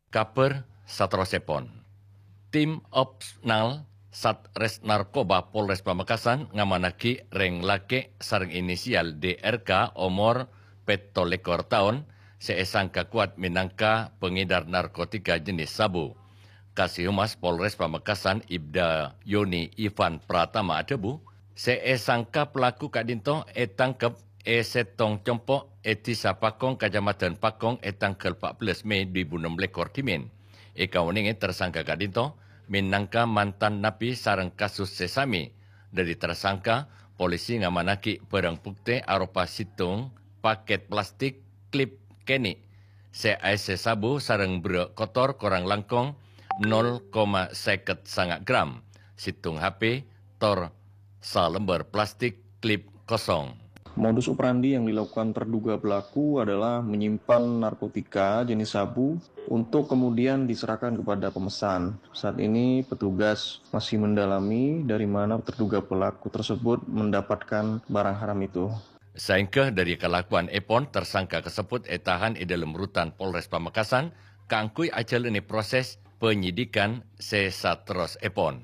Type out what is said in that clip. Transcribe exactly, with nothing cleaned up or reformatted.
Kabhâr saterrossèpon. Tim Opsnal Satres Narkoba Polres Pamekasan ngamanaghi rèng lakè' sareng inisial D R K omor pètto lèkor taon sè èsangka kowat mènangka pangèdar narkotika jenis sabu. Kasihumas Polres Pamekasan Ibda Yoni Ivan Pratama adhâbu, sè èsangka pelaku ka'dinto ètangkep è sèttong compo' è Dhisa Pakong, Kacamadhân Pakong è tangghâl pa' bellâs Mei dhu èbu ennem lèkor dhimèn. Èkaonèngè tersangka ka'dinto mènangka mantan napi sareng kasus sè samè. Dhâri tersangka, polisi ngamanaghi bhârâng buktè aropa sèttong pakèt plastik klip kènè' sè aèssè sabu sareng berrâ' kotor korang langkong nol koma sèket sanga' gram, sèttong H P, tor salembâr plastik klip kosong. Modus operandi yang dilakukan terduga pelaku adalah menyimpan narkotika jenis sabu untuk kemudian diserahkan kepada pemesan. Saat ini petugas masih mendalami dari mana terduga pelaku tersebut mendapatkan barang haram itu. Saèngghâ dhâri kalakowan èpon, tersangka kasebbhut ètahan è dhâlem rutan Polres Pamekasan kaangghuy ajhâlânè proses panyidhikan sè saterrossèpon.